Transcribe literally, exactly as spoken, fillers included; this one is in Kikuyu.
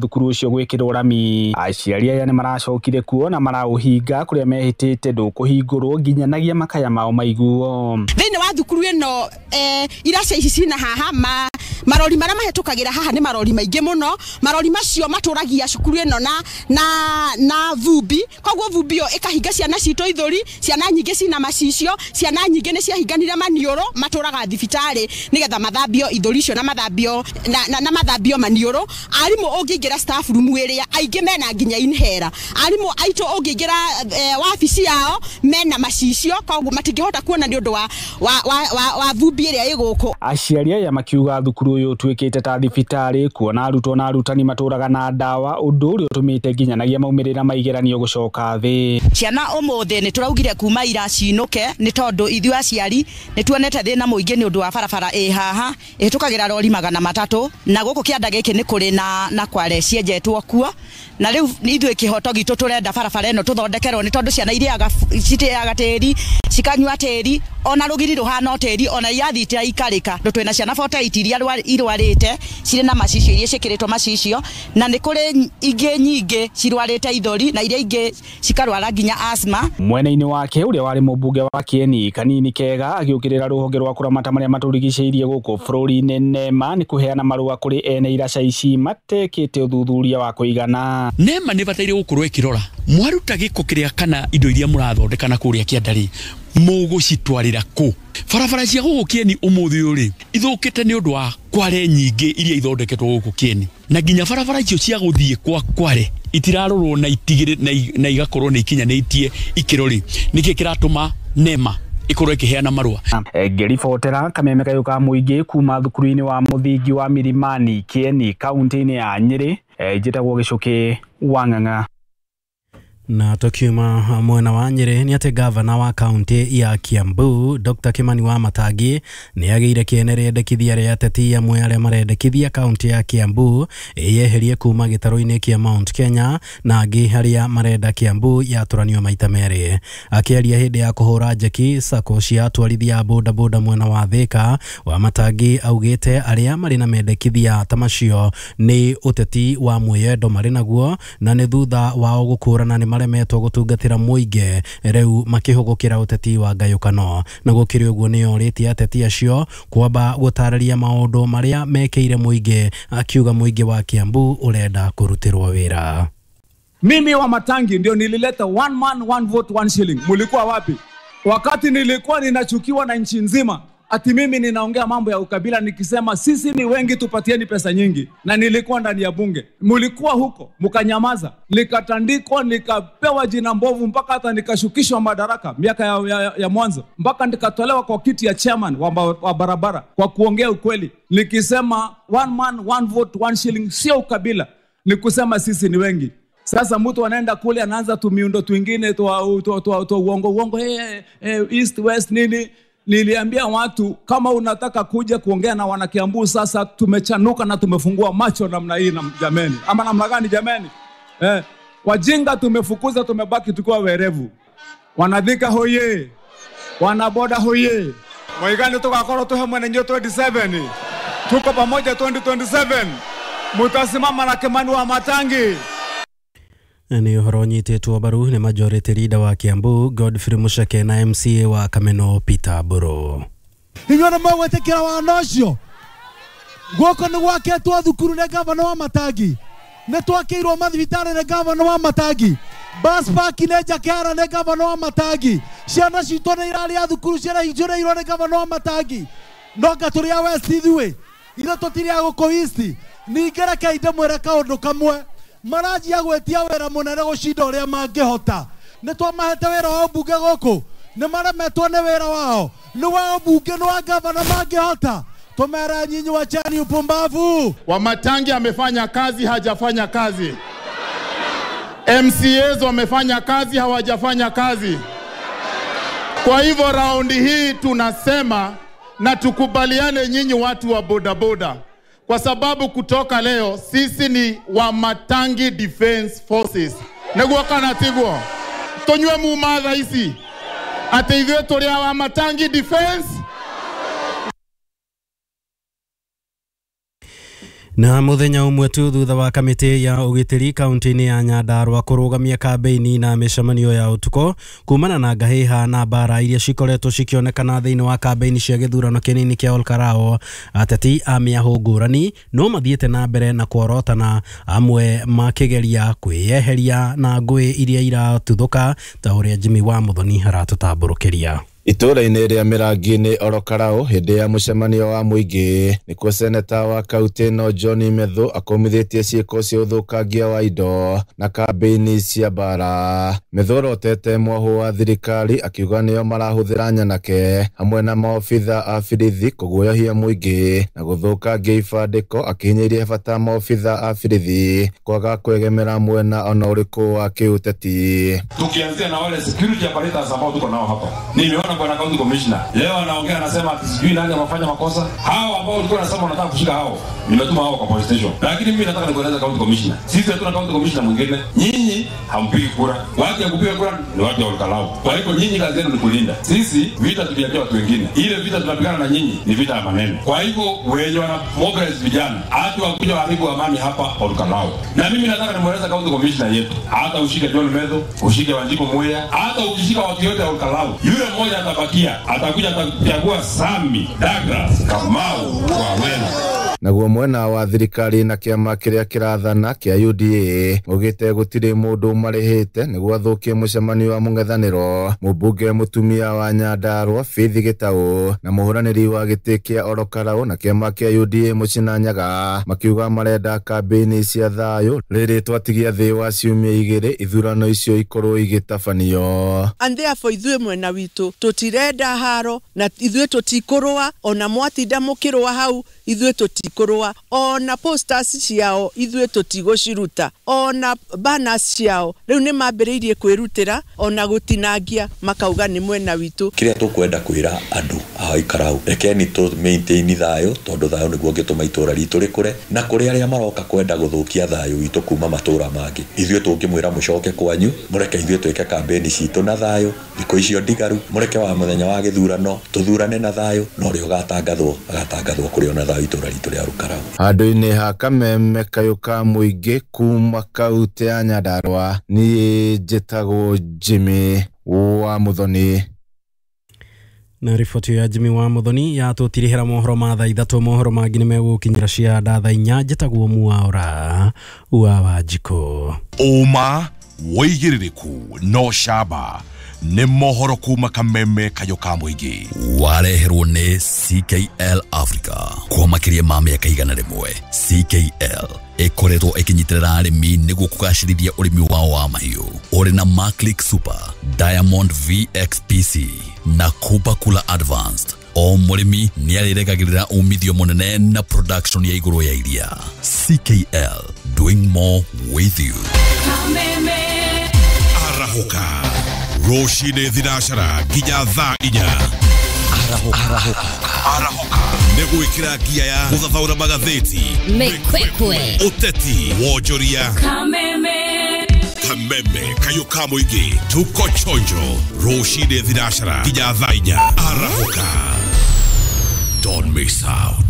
Thukuru ũcio gwĩkĩrwo rami. Aciari aya nĩ maracokire kuo na maraũhinga kũrĩa mehĩtĩte ndũkũhingũrwo nginyanagia makaya mao maiguo. Thĩinĩ wa thukuru ĩno eh, iraca ici cina haha ma marori marĩa mahĩtũkagĩra haha nĩ marori maingĩ mũno. Marori macio matũragia cukuru ĩno na na na vumbi, koguo vumbi ĩyo ĩkahinga ciana citũ ithũri. Ciana nyingĩ cina macicio, ciana nyingĩ nĩ ciahinganire maniũrũ, matũraga thibitarĩ nĩgetha mathambio ithũri icio na mathambio na, na, na mathambio maniũrũ. Arimũ ũngĩingĩra staff room ĩrĩa aingĩ mena nginya inhera. Arimũ aitũ ũngĩingĩra eh, wabici yao mena macicio, koguo matingĩhota kuona nĩ ũndũ wa, wa, wa, wa, wa vumbi ĩrĩa ĩ gũkũ. Aciari aya makiuga thukuru ũyũ ũtuĩkĩte ta thibitarĩ kuona arutwo na arutani matũraga na ndawa, ũndũ ũrĩa ũtũmĩte nginyanagia maumĩrĩra ma igeranio gũcoka thĩ. Ciana ũmũthĩ nĩ tũraugire kuma ira cinũke nĩ tondũ ithuĩ aciari nĩ tuonete thĩna mũingĩ nĩ ũndũ wa barabara ĩ haha ĩhĩtũkagĩra rori magana matatũ, na gũkũ kĩanda gĩkĩ nĩ kũrĩ na, na kware cienjetwo kuo, na rĩu ithuĩ kĩhoto gitũ tũrenda barabara ĩno tũthondekerwo nĩ tondũ ciana irĩaga citĩaga tĩri, cikanyua tĩri, ona rũgiri rũhana tĩri, ona irathi itiraikarĩka. Twĩna ciana forty-eight iria irwarĩte cirĩ na macicio iria ciĩkĩrĩtwo macicio, na nĩ kũrĩ ingĩ nyingĩ cirwarĩte ithũri na iria ingĩ cikarwara nginya asthma. Mwena-inĩ wake ũrĩa warĩ mũmbunge wa Kieni Kanini Kega agĩũkĩrĩra rũhonge rwa kũramata marĩa matũrigicĩirie gũkũ bũrũri-inĩ NEMA nĩ kũheana marũa kũrĩ ene iraca ici matekĩte ũthuthuria wa kũigana. NEMA nĩ bataire gũkorwo ĩkĩrora mwaruta gĩko kĩrĩa kana indo iria mũrathondeka na kũrĩa kĩanda rĩ mũgũcitwarĩra kũ. Barabara cia gũkũ Kieni ũmũthĩ ũyũ rĩ ithũkĩte nĩ ũndũ wa kware nyingĩ iria ithondeketwo gũkũ Kieni, na nginya barabara icio cia gũthiĩ kwa kware itirarorwo na itigĩrĩ na igakorwo nĩ ikinyanĩtie ikĩro rĩ, nĩkĩ kĩratũma NEMA ikorwo ĩkĩheana marũa. Ngĩribotera kameme kayũ ka mũingĩ kuma thukuru-inĩ wa mũthingi wa Milimani Kieni kaunti-inĩ ya Nyĩrĩ, njĩtagwo Gĩcũkĩ wa Ng'ang'a. Na tukiuma mwena wa Nyĩrĩ nĩ atĩ gavana wa kaunti ya Kiambu Doctor Kimani Wamatangi nĩ agĩire kĩene rĩendekithia rĩa ateti amwe arĩa marendekithia kaunti ya Kiambu ĩyeherie kuma gĩtarũ-inĩ kĩa Mount Kenya na angĩ arĩa marenda Kiambu yatũranio maita merĩ. Akĩaria hĩndĩ ya kũhũra njeki sacco cia atwarithia a bodaboda mwena wa Thika, Wamatangi augĩte arĩa marĩ na mendekithia ta macio nĩ ũteti wa mwĩyendo marĩ naguo na nĩ thutha wao gũkũrana nĩ maremetwo gũtungatĩra mũingĩ rĩu makĩhũgũkĩra ũteti wa ngayũkano. Na gũkĩrĩ ũguo nĩ orĩtie ateti acio kwamba gũtarĩria maũndũ marĩa mekĩire mũingĩ, akiuga mũingĩ wa Kiambu ũrenda kũrutĩrwo wĩra. Mimi Wamatangi ndio nilileta one man one vote one shilling. Mulikuwa wapi wakati nilikuwa ninachukiwa na nchi nzima ati mimi ninaongea mambo ya ukabila nikisema sisi ni wengi tupatieni pesa nyingi, na nilikuwa ndani ya bunge. Mulikuwa huko mkanyamaza, nikatandikwa, nikapewa jina mbovu mpaka hata nikashukishwa madaraka miaka ya, ya, ya mwanzo, mpaka nikatolewa kwa kiti ya chairman wa, wa barabara kwa kuongea ukweli nikisema one man one vote one shilling sio ukabila, ni kusema sisi ni wengi. Sasa mtu anaenda kule anaanza tu miundo twingine tu tu tu uongo uongo, hey, hey, east west nini. Niliambia watu kama unataka kuja kuongea na wanakiambu sasa tumechanuka na tumefungua macho namna hii na jameni. Ama namna gani jameni? Eh, wajinga tumefukuza, tumebaki tukiwa werevu. Wanadhika hoye, wanaboda hoye. Mwaigani tukakoro tuhe mwenye twenty-seven. Tuko pamoja twenty twenty-seven. Mutasimama na Kimani Wamatangi. Nĩ ũhoro ũnyitĩtwo mbaru nĩ majority leader wa Kiambu Godfrey Mucheke na M C A wa Kameno Peter Mburu. Inyuĩ nĩ mũgwĩtĩkĩra wana ũcio? Gũkũ nĩ gwakĩtwo thukuru nĩ gavana wa Matangi, nĩ twakĩirwo mathibitarĩ nĩ gavana wa Matangi, bus park nĩ Njakehara nĩ gavana wa Matangi, ciana citũ nĩ irarĩa thukuru cirahingũrĩirwo nĩ gavana wa Matangi. No anga tũrĩ a West ithuĩ, ithuĩ tũtirĩ a gũkũ East. Ningĩ rekei ndĩmwĩre kaũndũ kamwe, maranjia gwĩtia wĩra mũnene gũcinda ũrĩa mangĩhota. Nĩ twamahete wĩra wa ũmbunge gũkũ, nĩ maremetwo nĩ wĩra wao, nĩ wa ũmbunge nĩ wa gavana mangĩhota. Tumera nyinyi wachani upumbavu. Wamatangi amefanya kazi, hajafanya kazi. M C As wamefanya kazi, hawajafanya kazi. Kwa hivyo raundi hii tunasema na tukubaliane nyinyi watu wa bodaboda, kwa sababu kutoka leo sisi ni Wamatangi Defense Forces. Neguo kana tiguo tonywe mumatha ici ati ithuĩ tũrĩ a Wamatangi Defense. Na muthenya umwe tu thutha wa kamiti ya ugitiri kaunti-ini ya Nyandarua kurugamia kambeini na micemanio ya utuko kumana na ngahiha na mbara iria cikoretwo cikionekana thiini wa kambeini cia githurano kinini kia Olkarao, ateti a miahu ngurani no mathiite na mbere na kworotana, amwe makigeria kwiyeheria na ngui iria iratuthuka ta uria Jimmy wa Muthoni aratutamburukiria. Itũũra-inĩ rĩa Mĩrangi-inĩ Orokarao hĩndĩ ya mũcemanio wa mũingĩ nĩkuo seneta wa kaunti ĩno John Methu akomithĩtie ciĩko cia ũthũkangia wa indo na kambĩini cia mbara. Methu orotete mwahũ wa thirikari akiuga nĩo marahũthĩra nyanake hamwe na maobitha a birithi kũguoyohia mũingĩ na gũthũkangia ibandĩko, akĩhinyĩrĩria bata maobitha a birithi kwaga kwegemera mwena ona ũrĩkũ wa kĩũteti. Tukianzia na wale security apparatus ambao tuko nao hapa, nimeona bwana county commissioner leo anaongea anasema ati sijui nani amefanya makosa. Hao ambao ulikuwa unasema unataka kushika hao, nimetuma hao kwa police station. Lakini mimi nataka nikueleze county commissioner, sisi hatuna county commissioner mwingine. Nyinyi hampigi kura, watu ya kupiga kura ni watu wa Olkalou. Kwa hivyo nyinyi kazi yenu ni kulinda. Sisi vita tuliachia watu wengine, ile vita tunapigana na nyinyi ni vita ya maneno. Kwa hivyo wenye wana mobilize vijana hata wakuja waharibu amani hapa Olkalou. Na mimi nataka nimueleze county commissioner yetu, hata ushike John Methu, ushike Wanjiko Muya, hata ukishika watu yote wa Olkalou, yule mmoja atabakia, atakuja atachagua Sami Douglas Kamau wa Wena. Naguo mwena wa thirikari na kiama kiria kirathana kia U D A ugite gutiri mundu marihite niguo athukie mucemanio wa mung'ethaniro. Mumbunge mutumia wa Nyandarua Faith Gitau na muhuraniri wa giti kia Orokarau na kiama kia U D A Muchina Nyaga makiuga marenda kambĩini cia thayu riri twatigia thi wa ciumia igiri ithurano icio ikorwo igitabanio. And therefore ithuĩ mwena witũ tutirenda haro na ithuĩ tutikurua ona mwatinda mukirua hau ithuĩ tutikurua ona posters ciao ithuĩ tutigũciruta ona banners ciao riu ni mambĩrĩirie kwĩrutĩra ona gũtinangia makauga nĩ mwena witũ. Kĩrĩa tũkwenda kwĩra andũ a Olkarau, rekeni tũ maintain thayũ tondũ thayũ nĩguo ũngĩtũma itũra ritũ rĩkũre, na kũrĩ arĩa maroka kwenda gũthũkia thayũ witũ kuma matũra mangĩ, ithuĩ tũngĩmwĩra mũcoke kwanyu, mũreke ithuĩ twĩke kambĩni citũ na thayũ thikũ icio ndigaru, mũreke wa mũthenya wa gĩthurano tũthurane na thayũ, na ũrĩa ũgatangathwo agatangathwo kũrĩ ona thayũ itũra ritũ rĩa Olkarau. Handũ-inĩ ha kameme kayũ ka mũingĩ kuma kaunti ya Nyandarua, niĩ njĩtagwo Jimmy wa Muthoni. Na riboti ya Jimmy wa Muthoni yatũtirihĩra mohoro ma thaa ithatũ. Mohoro mangĩ nĩmegũkinyĩra cia nda thaa inya. Njĩtagwo Mwaura wa Wanjikũ. Ũma wĩigĩrĩrĩku no camba nĩ mohoro kuma kameme kayũ ka mũingĩ wareherwo nĩ C K L Africa. Kwa makĩria ma mĩaka igana rĩmwe, C K L ĩkoretwo ĩkĩnyitĩrĩra arĩmi nĩguo kũgacĩrithia ũrĩmi wao wa mahiũ. Ũrĩ na Maclick Super, Diamond V X P C na Kuba Kula Advanced. O mũrĩmi nĩarĩregagĩrĩra umithio mũnene na production ya igũrũ ya iria. C K L, doing more with you. Kameme Arahoka rũcinĩ thinacara nginya thaa inya. Arahoka. Arahoka nĩ gwĩkĩra ngia ya gũthathaũra magathĩti, mĩkwekwe, ũteti, wonjoria. Kameme Kameme kayũ ka mũingĩ tuko chonjo rũcinĩ thinacara nginya thaa inya. Arahoka, don't miss out.